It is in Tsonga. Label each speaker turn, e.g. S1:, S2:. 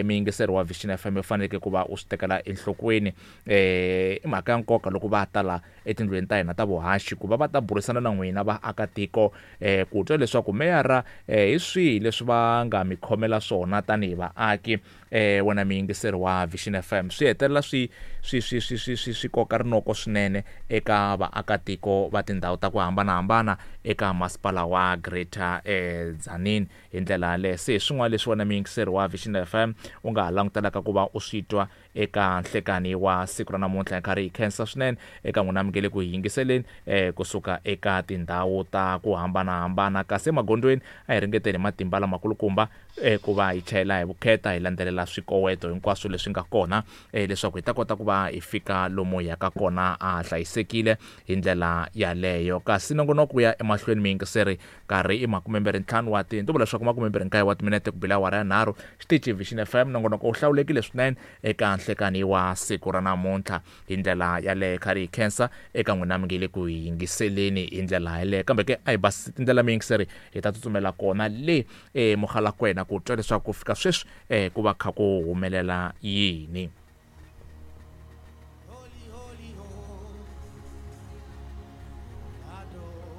S1: Muyingiseri wa Vision FM u faneleke ku va u swi tekela enhlokweni, i mhaka ya nkoka loko va ta la etindlwini ta hina ta vuhaxi ku va va ta burisana na n'wina vaakatiko, ku twa leswaku meyara hi swihi leswi va nga mi khomela swona tanihi vaaki. Wena muyingiseri wa Vision FM, swi hetelela swi swi swi swi swi swi swi koka rinoko swinene eka vaakatiko va tindhawu ta ku hambanahambana eka masipala wa Greater Tzaneen. Hi ndlela yaleyo, se hi swin'wana leswi wena muyingiseri wa Vision FM u nga ha langutelaka ku va u swi twa eka nhlekani wa siku ra namuntlha. Hi karhi hi khensa swinene eka n'wina mi nge le ku hi yingiseleni kusuka eka tindhawu ta ku hambanahambana. Kasi emagondzweni a hi ringeteni hi matimba lamakulukumba ku va hi chayela hi vukheta, hi landzelela swikoweto hinkwaswo leswi nga kona leswaku hi ta kota ku va hi fika lomu hi yaka kona a hlayisekile hi ndlela yaleyo. Kasi nongonoko wu ya emahlweni muyingiseri. Nkarhi i makumembirhi-ntlhanu wa ti, ndzi vula leswaku makumembirhi-nkaye wa timinete ku bile awara ya nharhu. Xitichi Vision FM, nongonoko wu hlawulekile swinene eka nhlekani wa siku ra namuntlha. Hi ndlela yaleyo kha ri hi khensa eka n'wina mi nge le ku hi yingiseleni hi ndlela yaleyo. Kambe ke a hi basisi tindlela muyingiseri, hi ta tsutsumela kona le eMogalakwena ku twa leswaku ku fika sweswi ku va kha ku humelela yini.